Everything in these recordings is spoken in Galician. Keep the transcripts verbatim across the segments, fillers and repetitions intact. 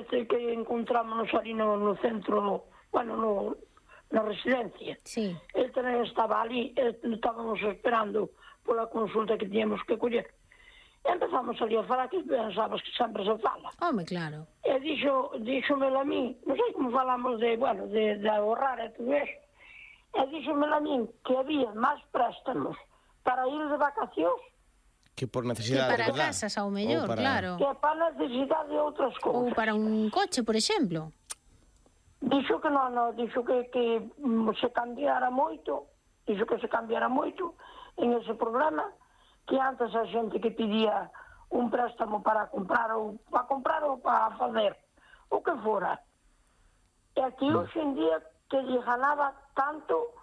ese que encontrámonos ali no, no centro, bueno, no, na residencia. Sí. Ele tamén estaba ali, estábamos esperando pola consulta que tiñamos que coller. E empezamos ali a falar que pensabas que sempre se fala. Home, claro. E dixo, dixomelo a mí, non sei como falamos de, bueno, de, de ahorrar e todo eso, e dixomelo a mí que había máis préstamos para ir de vacacións que por Que necesidade, para verdad? casas, ao mellor, Ou para- claro. que para necesidade de outras Ou cousas. para un coche, por exemplo. Dixo que non, non, dixo que, que mm, se cambiara moito, dixo que se cambiara moito en ese problema, que antes a xente que pedía un préstamo para comprar ou para comprar ou para fazer o que fora. E aquí hoxe en día que lle ganaba tanto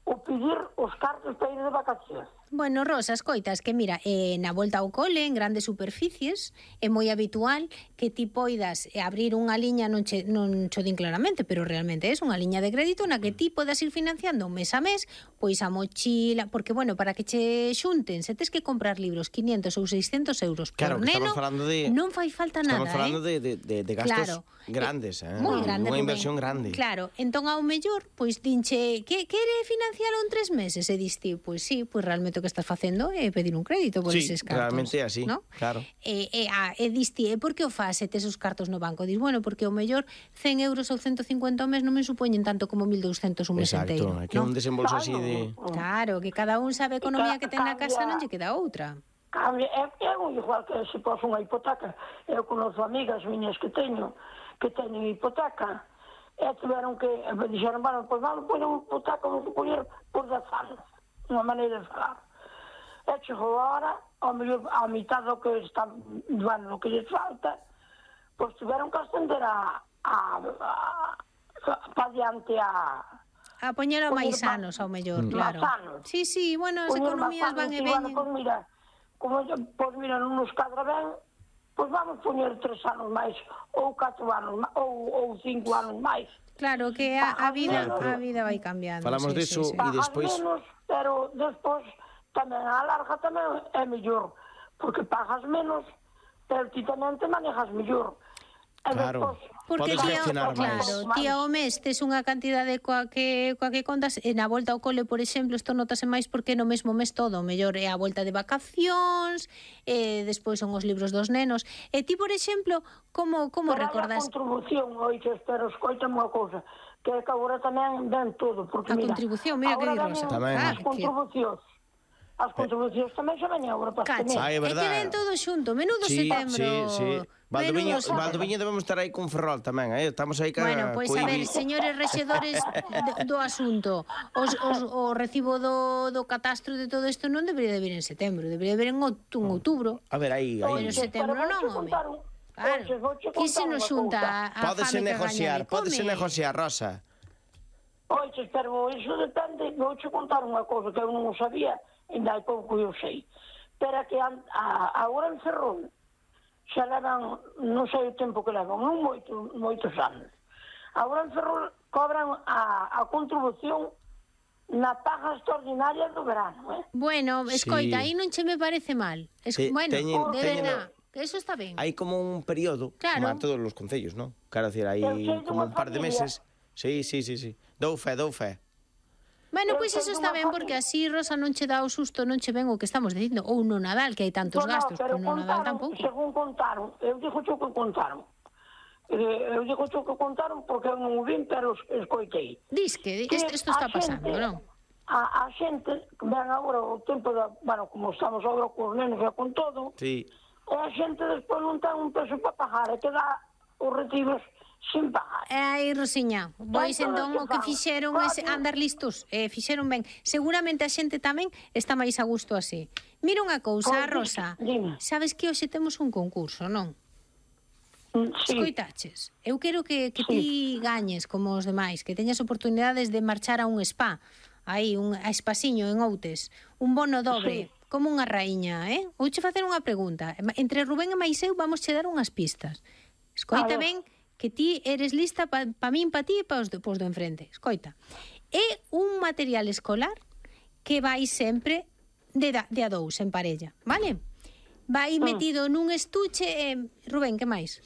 o pedir os cartos para ir de vacacións. Bueno, Rosa, escoitas, que mira, eh, na volta ao cole, en grandes superficies, é moi habitual que ti poidas eh, abrir unha liña, non che, non cho din claramente, pero realmente é unha liña de crédito na que ti podas ir financiando mes a mes, pois a mochila, porque, bueno, para que che xunten, se tes que comprar libros quinientos ou seiscentos euros por Claro, que neno, estamos falando de- non fai falta Estamos nada, falando eh? de, de, de, de gastos Claro. grandes, eh? Moi grande, Unha Rubén. inversión grande. Claro, entón ao mellor, pois dinche, que quere financialo en tres meses? E dis ti, pois sí, pois realmente o que estás facendo é pedir un crédito por Sí, eses cartos. realmente é así, ¿no? claro. E, e, a, e dis ti, e por que o faz se tes os cartos no banco? Dis, bueno, porque ao mellor cen euros ou ciento cincuenta ao mes non me supoñen tanto como mil douscentos un mes Exacto, enteiro. é que é un desembolso así de... Claro, que cada un sabe a economía que ten na casa, non lle queda outra. Cambia, é, é moi igual que se pos unha hipoteca. Eu conozo amigas miñas que teño, que teñen hipoteca, e tiveron que, e dixeron, bueno, pois vamos poñer unha hipoteca, vamos poñer por dez anos, unha maneira de falar. E chegou a hora, ao mellor, a mitad do que está, bueno, do que lles falta, pois tiveron que ascender a, a, a, a para diante a... A poñelo Poñer máis pa- anos ao mellor, máis claro. anos. Sí, sí, bueno, as poñer economías máis van e anos, bueno, veñen. pois mira, como, pois mira, non nos cadra ben, pois vamos poñer tres anos máis, ou catro anos máis, ou, ou cinco anos máis. Claro, que a, a vida Claro, a vida vai cambiando. Falamos sí, deso sí, sí. e Pagas despois... menos, pero despois tamén a larga tamén é mellor, porque pagas menos, pero ti tamén te manejas mellor. E Claro. despois, Porque Podes ti, gestionar máis. claro, ti ao mes tes unha cantidade coa que, coa que contas e na volta ao cole, por exemplo, isto notase máis porque no mesmo mes todo, o mellor é a volta de vacacións, e despois son os libros dos nenos. E ti, por exemplo, como como pero hai a recordas contribución, oiches, pero escoita unha cousa, que é que agora tamén ven todo, porque a mira, contribución? Mira que agora di veñen Rosa. Tamén. as que- contribucións. As contribucións tamén xa veñen agora para este Cache, mes. Ah, é é que verdad. ven todo xunto, menudo Sí, setembro. sí, sí. Valdoviño, menudo setembro. Valdoviño debemos estar aí con Ferrol tamén, eh? Estamos aí ca... Bueno, pois co a I B I. ver, señores rexedores do, do asunto, os, os, o recibo do, do catastro de todo isto non debería de vir en setembro, debería de vir en, outu, en outubro. A ver, aí, Pero aí. en setembro Pero non, vouche home. contar un- Claro, Oxe, vouche que se contar nos unha xunta cousa. a, a Pódese fame que negociar, gaña de pódese come. negociar, Rosa. Oiches, pero iso depende, vouche contar unha cousa que eu non o sabía, ainda hai pouco eu sei. Pero que a, a, agora en Ferrol xa levan, non sei o tempo que levan, non moito, moitos anos. Agora en Ferrol cobran a, a contribución na paga extraordinaria do verano, eh? Bueno, escoita, Sí. aí non che me parece mal. Es, Te- bueno, teñen- de teñen- verdad, que eso está ben. Hai como un período, Claro. como a todos os concellos, ¿no? Quero decir, hai Eu sei como dunha un par de familia- meses. Sí, sí, sí, sí. Dou fe, dou fe. Bueno, Eu pois sei eso está dunha ben, porque así, Rosa, non che dá o susto, non che ven o que estamos dicindo. Ou no Nadal, que hai tantos No, no, gastos, pero no Nadal contaron, tampouco. según contaron, eu digo xo que contaron. Eh, eu digo xo que contaron porque eu non o vin, pero es- escoitei. Dis que Que isto, isto a está pasando, xente- non? A, a xente, ven agora o tempo da, bueno, como estamos agora cos nenos e con todo, Sí. e a xente despois non ten un peso para pagar, e que dá os retiros sin pagar. E aí, Rosiña, pois Entón, entón o que que fan? fixeron é Claro. andar listos, eh, fixeron ben. Seguramente a xente tamén está máis a gusto así. Mira unha cousa, Pois, Rosa, dime. sabes que hoxe temos un concurso, non? Mm, Sí, Escoitaches, eu quero que, que ti gañes como os demais, que teñas oportunidades de marchar a un spa, aí, un a Espasiño en Outes, un bono dobre, Sí. como unha raíña, eh? Vouche facer unha pregunta. Entre Rubén e máis eu vamos che dar unhas pistas. Escoita A ver. ben que ti eres lista pa, pa min, pa ti e pa os do, pos do enfrente. Escoita, é un material escolar que vai sempre de, da, de a dous en parella, vale? Vai metido nun estuche, eh, Rubén, que máis?